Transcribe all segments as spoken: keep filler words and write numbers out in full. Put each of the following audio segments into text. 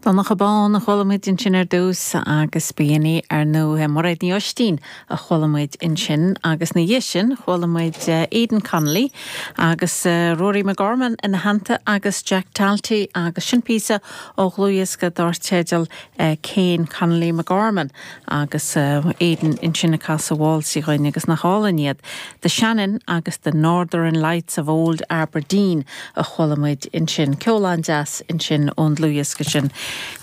Donncha Bán a chuala muid ansin ar dtús agus b'in í ar ndóigh Mairéad Ní Oistín a chuala muid ansin agus ina dhiaidh sin chuala muid Aidan Connolly agus Rory McGorman ina theannta agus Jack Talty agus sin píosa ó dhlúthdhiosca dar teideal Kane Connolly McGorman agus Aidan ansin ag casadh válsaí dúinn agus nach álainn iad. The Shannon agus the Northern Lights of Old Aberdeen a chuala muid ansin ceol an-deas ansin ón dlúthdhiosca sin.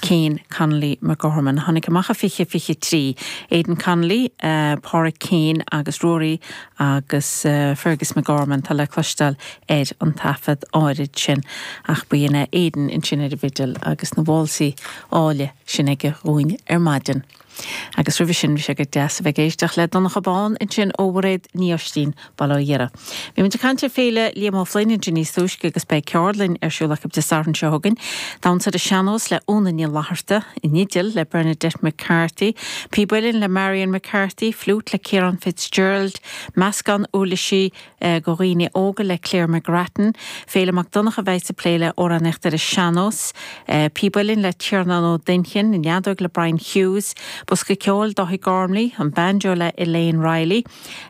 Kane Connolly McGorman tháinig amach i fiche fiche trí. Aidan Connolly, uh, Pádraig Kane agus Rory agus uh, Fergus McGorman tá le cloisteáil ar an taifead áirid sin ach b'in é Aidan ansin ar an bhfidil agus na válsaí áille sin aige dúinn ar maidin. Agus roimhe sin bhí sé go deas a bheith ag éisteacht le Donncha Bán ansin ó Mhairéad Ní Oistín Baile Átha Dhoire. Bhí muid ag caint ar Féile Liam O'Flynn ansin níos túisce agus beidh ceardlann ar siúl acu Dé Sathairn seo chugainn. Damhsa ar an sean-nós le Úna Ní Fhlatharta, an fhidil le Bernadette McCarthy, Píb Uilleann le Marion McCarthy, Flute le Ciarán Fitzgerald, Meascán uirlisí uh, go dhaoine óga le Claire McGrattan, Féile Mac Donncha bheidh ag plé le amhránaíocht ar an sean-nós, uh, Píb Uilleann le Tiarnán Ó Duinnchinn, an fheadóg le Brian Hughes, Bosca ceoil Dáithí Gormley, an banjo le Elaine Riley,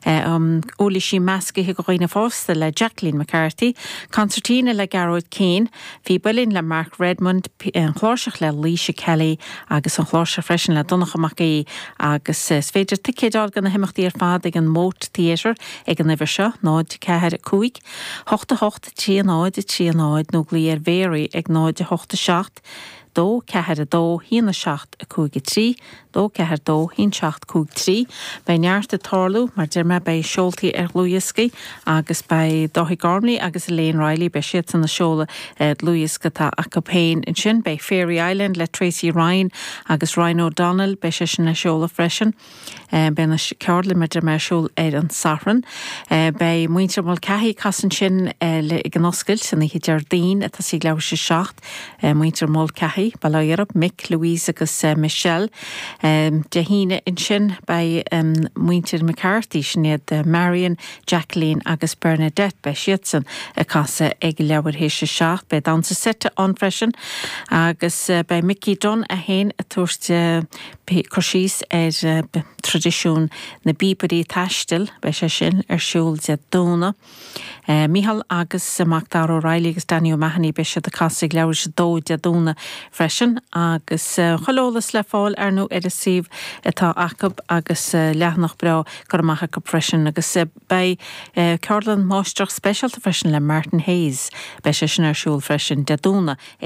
uh, um, uirlisí measctha go dhaoine fásta le Jacqueline McCarthy, Concertina le Gearóid Keane, Píb Uilleann le Mark Redmond, an chláirseach le Leisha Kelly agus an chláirseach freisin le Donncha Mac Aoidh agus is féidir ticéid a fháil do na himeachtaí ar fad ag an Moat Theatre ag an uimhir seo náid ceathair cúig, hocht a hocht trí náid trí náid nó glaoigh ar Mhary ag náid a hocht a seacht, dó ceathair a dó haon a seacht a cúig a trí, dó ceathair dó haon seacht cúig trí, Beidh neart ag tarlú mar deir mé beidh seoltaí ar dhlúthdhioscaí agus beidh Dáithí Gormley agus Elaine Riley beidh siadsan ag seoladh dlúthdhiosca atá acu féin ansin, beidh Fairy Island le Tracy Ryan agus Ryan O'Donnell beidh sé sin le seoladh freisin. Beidh na ceardlanna mar deir mé ar siúl ar an Satharn. Beidh muintir Mulcahy ag casadh ansin ag an oscailt san oíche Déardaoin atá sí leathuair tar éis a seacht muintir Mulcahy, Baile Átha Mick, Louise agus Michelle. Dé hAoine ansin beidh muintir McCarthy sin iad Marion, Jacqueline agus Bernadette beidh siadsan ag casadh ag leathuair tar éis a seacht, beidh damhsa seite ann freisin agus beidh Mickey Dunn é féin ag tabhairt cur síos ar traidisiún na bpíobairí taistil, beidh sé sin ar siúl Dé Domhnaigh. Micheál agus Mac Dara O'Reilly agus Danny O'Mahony beidh siad ag casadh ag leathuair tar éis a dó Dé Domhnaigh freisin agus chuile eolas le fáil ar nó ar an suíomh atá acu agus leathanach breá curtha amach acu freisin agus beidh ceardlann máistreacht speisialta freisin le Martin Hayes, beidh sé sin ar siúl freisin Dé Domhnaigh ag